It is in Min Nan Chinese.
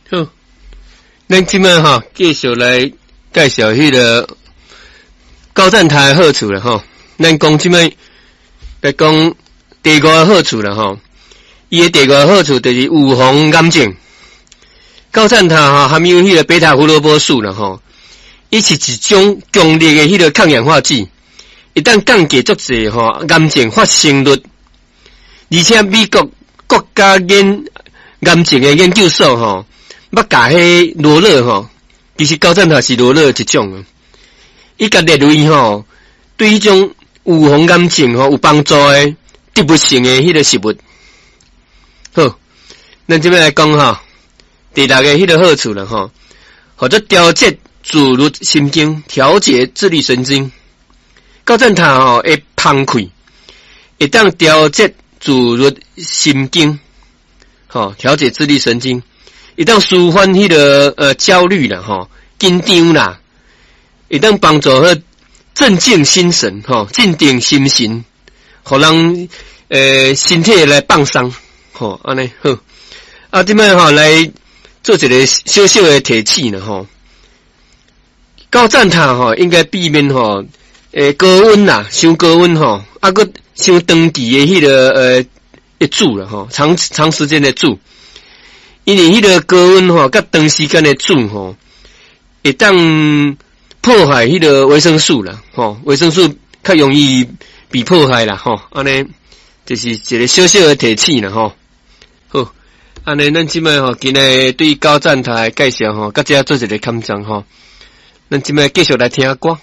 好，咱這擺吼繼續來介紹彼个高贊塔的好處啦吼。咱講這擺來講第五个好處啦吼。伊的第五个好處就是預防癌症。高贊塔吼含有彼个貝塔胡蘿蔔素啦吼，伊是一種強力的彼个抗氧化劑，會當降低足濟吼癌症發生率。而且美國國家研癌症的研究所吼，捌共彼羅勒吼，其實高贊塔是羅勒的一種啊。伊共列為吼，對彼種預防癌症吼有幫助的植物性的彼个食物。好，咱這擺來講吼，第六个彼个好處啦吼，號做調節自律神經，調節自律神經。高贊塔吼會芳氣，會當調節自律神經，吼，調節自律神經，會當舒緩彼个焦慮啦，吼，緊張啦，會當幫助彼鎮靜心神，吼，鎮定心神，予人身體來放鬆，吼，按呢好。啊，這擺吼來做一个小小的提醒啦，吼。高贊塔吼應該避免吼，高溫啦，傷高溫吼，啊，閣傷長期的彼个煮啦吼，長長時間的煮，因為彼个高溫吼，佮長時間的煮吼，會當破壞彼个維生素啦，吼，維生素較容易被破壞啦，吼，按呢就是一个小小的提醒啦，吼。好，按呢咱這擺吼，今日對高贊塔的介紹吼，到遮做一个坎章吼，咱這擺繼續來聽歌。